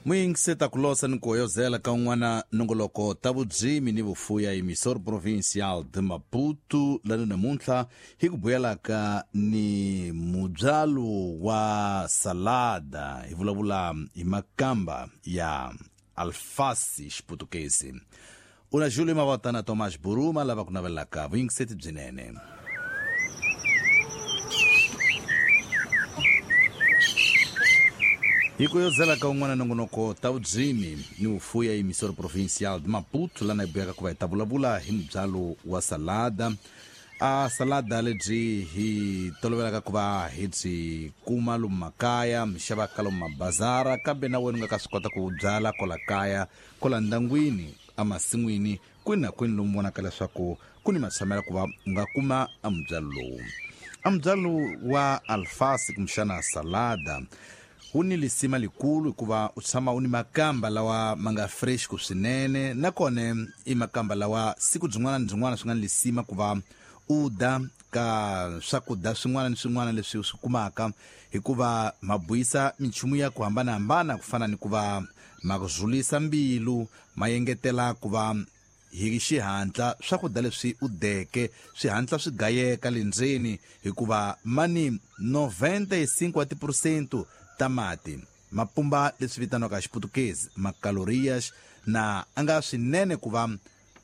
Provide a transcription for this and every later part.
Muyingiseta ku losa ni ku hoyozela ka un'wana nongoloko ta vudzimi ni vufuya emissor provincial de Maputo lani namuntlha hi ku buyelaka ni mubyalo wa salada hi vulavula hi makamba ya alfasi xiputukezi una Júlio Mavota na Tomás Buruma lava ku navelaka vuyingiseti byinene. Hi ku yozela ka un'wana nongonoko ta vudzimi ni vufuya emissor provincial de Maputo lana hi buyaka ku va hi ta vulavula hi mubyalo wa salada. A salada lebyi hi tolovelaka ku va hi byi kuma lomu makaya, mi xavaka lomu mabazara, kambe na wena u nga ka swi kota ku byala kwala kaya, kwala ndyangwini, emasin'wini, kwini na kwini lomu vonaka leswaku ku ni matshamela ku va u nga kuma a mubyalo lowu. A mubyalo wa alfasi kumbexana salada wu ni lisima likulu hikuva u tshama u ni makamba lawa ma nga fresh ku swinene, nakona i makamba lawa siku byin'wana ni byin'wana swi nga ni lisima ku va u da ka swakudya swin'wana ni swin'wana leswi u swi kumaka, hikuva ma buyisa minchumu ya ku hambanahambana ku fana ni ku va ma ku zulisa mbilu, ma engetela ku va hi xihatla swakudya leswi u deke swi hatla swi gayeka le ndzeni, hikuva ma ni 95 wa tiphurosento ta mati, ma pumba leswi vitaniwaka hi Xiputukezi macalorias, na a nga swinene ku va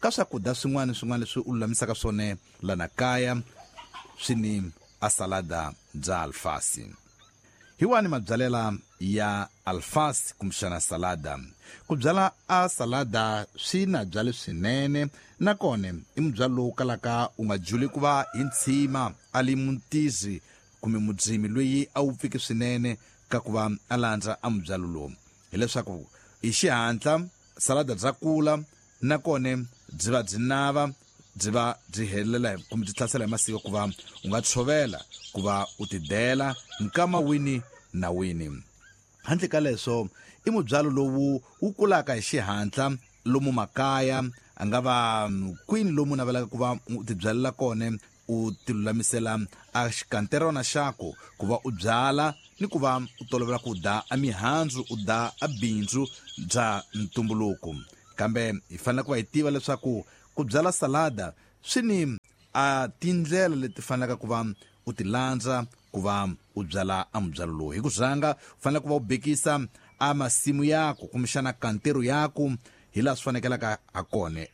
ka swakudya swin'wana ni swin'wana leswi u lulamisaka swona lana kaya swi ni a salada bya alfasi. Hi wani mabyalela ya alfasi kumbexana salada? Ku byala a salada swi na byale swinene, nakona i mubyalo lowu kalaka u nga juli ku va hi ntshima a li mutizi kumbe mudzimi loyi a wupfiki swinene ka ku va a landza a mubyalo lowu. Hileswaku hi xihatla salada bya kula, nakona byi va byi nava, byi va byi helela kumbe byi hlasela hi masiku ku va u nga tshovela ku va u tidela nkama wini na wini. Handle ka leswo, i mubyalo lowu wu kulaka hi xihatla lomu makaya, a nga va kwini lomu u navelaka ku va u tibyalela kona, u tilulamisela a xikanterona xaku ku va u byala ni ku va u tolovela ku da a mihandzu, u da a bindzu bya ntumbuluko. Kambe hi fanele ku va hi tiva leswaku ku byala salada swi ni a tindlela leti fanelaka ku va u ti landza ku va u byala a mubyalo lowu. Hi ku rhanga u fanele ku va u bekisa a masimu yaku kumbexana kantero yaku hi laha swi fanekelaka ha kona.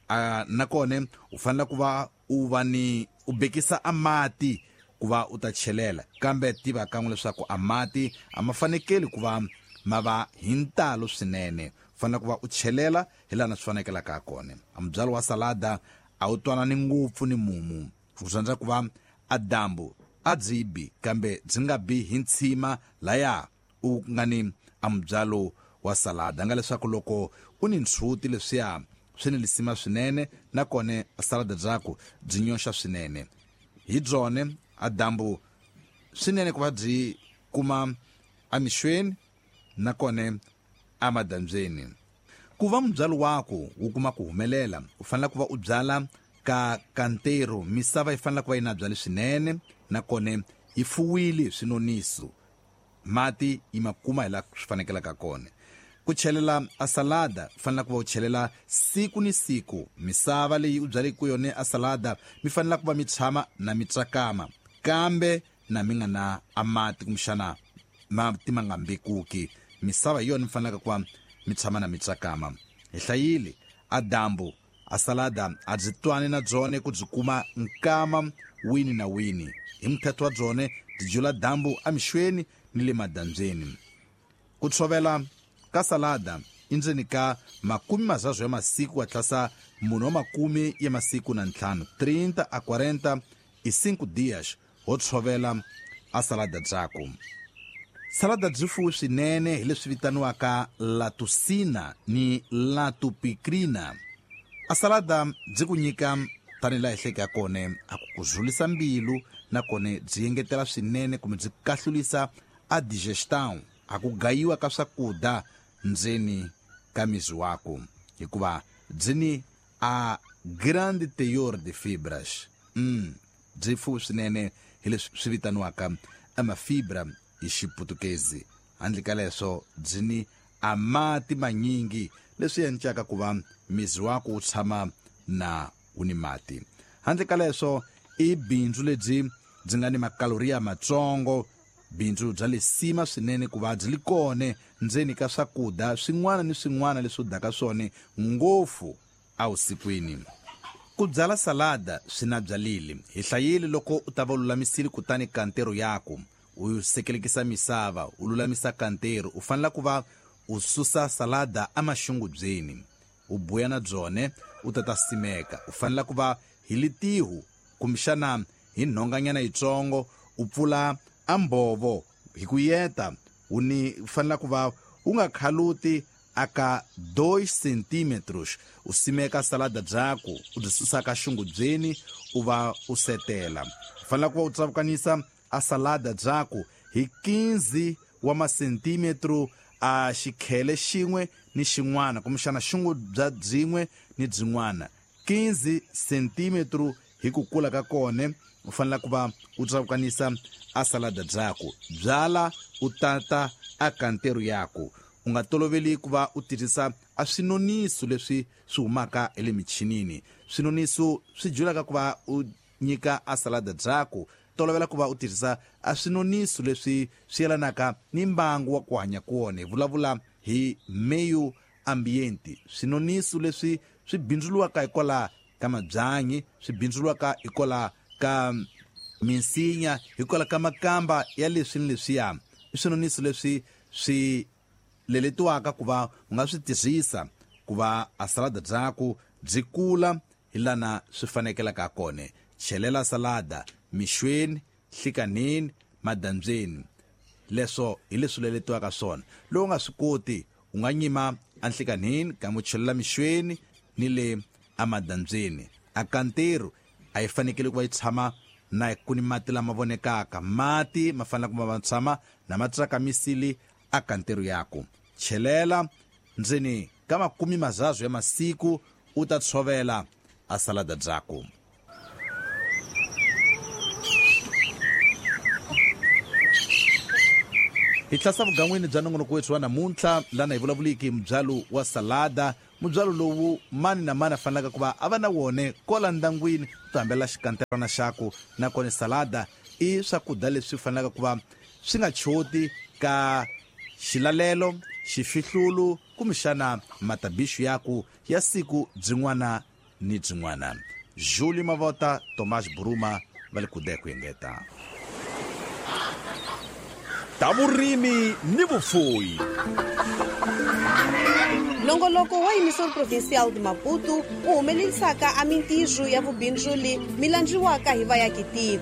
Nakona u fanele ku va u va ni u bekisa a mati ku va u ta chelela, kambe tiva kan'we leswaku a mati a ma fanekeli ku va ma va hi ntalo swinene. U fanele ku va u chelela hi laha swi fanekelaka ha kona. A mubyalo wa salada a wu twanani ngopfu ni mumu. U rhandza ku va a dyambu a byi bi, kambe byi nga bi hi ntshima laya u nga ni a mubyalo wa salada. Nga leswaku loko u ni ntshuti leswiya swi ni lisima swinene, nakona salada byaku byi nyoxa swinene. Hi byone a dyambu swinene ku va byi kuma emixweni nakona emadyambyeni. Ku va mubyalo waku wu kuma ku humelela, u fanele ku va u byala ka kantero. Misava yi fanele ku va yi na byali swinene, nakona yi fuwile hi swinoniso. Mati yi ma kuma hi laha swi fanekelaka kona. Ku chelela a salada, u fanele ku va u chelela siku ni siku. Misava leyi u byaleke ku yona a salada mi fanele ku va mi tshama na mi tsakama, kambe na mi nga na a mati kumbexana mati ma nga mbekuki. Misava hi yona mi fanelaka ku va mi tshama na mi tsakama. Hi hlayile a dyambu a salada a byi twani na byone ku byi kuma nkama wini na wini. Hi muthetho wa byone byi jula dyambu emixweni ni le madyambyeni. Ku tshovela ka salada i ndzeni ka makume mazazwo ya masiku wa tlasa mune wa makume ya masiku na ntlhanu, 30 a 40 e 5 dias, ho tshovela a salada byaku. Salada byi fuwe swinene hi leswi vitaniwaka latusina ni latupicrina. A salada byi ku nyika tanihi laha hi hleke ha kona, a ku ku zulisa mbilu, nakona byi engetela swinene kumbe byi kahlulisa a digestion, a ku gayiwa ka swakudya ndzeni ka miri waku, hikuva byi ni a grande teor de fibras. Byi fuwe swinene hi leswi swi vitaniwaka amafibra hi Xiputukezi. Handle ka leswo, byi ni a mati manyingi leswi endlaka ku va mizi wako wu tshama na wu ni mati. Handle ka leswo i bindzu lebyi byi nga ni makaloriya matsongo, bindzu bya lesima swinene ku va byi li kone ndzeni ka swakudya swin'wana ni swin'wana leswi u dyaka swona ngopfu evusikwini. Ku byala salada swi na byalili hi hlayile loko u ta va u lulamisile kutani kantero yaku u sekelekisa misava u lulamisa kantero, u fanele ku va u susa salada emaxungubyeni u buya na byone u ta ta simeka. U fanele ku va hi litihu kumbexana hi nhonganyana yitsongo u pfula ambhovo hi ku yeta, u ni fanele ku va u nga khaluti aka 2 centímetros. U simeka salada byaku u byi susa ka xungubyeni u va u setela. U fanele ku va u tsavukanisa a salada byaku hi 15 wa masentímetro a xikhele xin'we ni xin'wana kumbexana xungu bya byin'we ni byin'wana, 15 centímetro hi ku kula ka kone. U fanele ku va u tsavukanisa a salada byaku, byala u tata a kantero yaku. U nga toloveli ku va u tirhisa a swinoniso leswi swi humaka hi le michinini. Swinoniso swi julaka ku va u nyika a salada byaku. Tolovela ku va u tirhisa a swinoniso leswi swi yelanaka ni mbangu wa ku hanya kona. Hi vulavula hi meio ambiente, swinoniso leswi swi bindzuriwaka hikwalaho ka mabyanyi, swi bindzuriwaka hikwalaho ka minsinya, hikwalaho ka makamba ya leswi ni leswiya. I swinoniso leswi swi leletiwaka ku va u nga swi tirhisa ku va a salada byaku byi kula hi lana swi fanekelaka kona. Chelela salada mixweni, nhlikanini, madandzeni, leswo hi leswi leletiwaka swona. Loko u nga swi koti u nga nyima enhlikanini kambe u chelela mixweni ni le emadandzeni. A kantero a yi fanekele ku va yi tshama na ku ni mati lama vonekaka, mati ma fanele ku va ma tshama na ma tsakamisile a kantero yaku. Chelela ndzeni ka 30 ya masiku u ta tshovela a salada byaku. Hi tlhasa vugan'wini bya nongonoko wethu wa namuntlha lana hi vulavuliki mubyalo wa salada, mubyalo lowu mani na mani a fanelaka ku va a va na wone kola ndangwini ku hambela xikanterana xaku. Nakona salada i swakudya leswi fanelaka ku va swi nga choti ka xilalelo, xifihlulu kumbexana matabixu yaku ya siku byin'wana ni byin'wana. Julie Mavota, Tomás Buruma va le kude ku engeta. Ta vurimi ni vufuwi. Nongoloko wa Emissão Provincial de Maputo wu humelerisaka a mintirho ya vubindzuli mi landziwaka hi vayakitiko.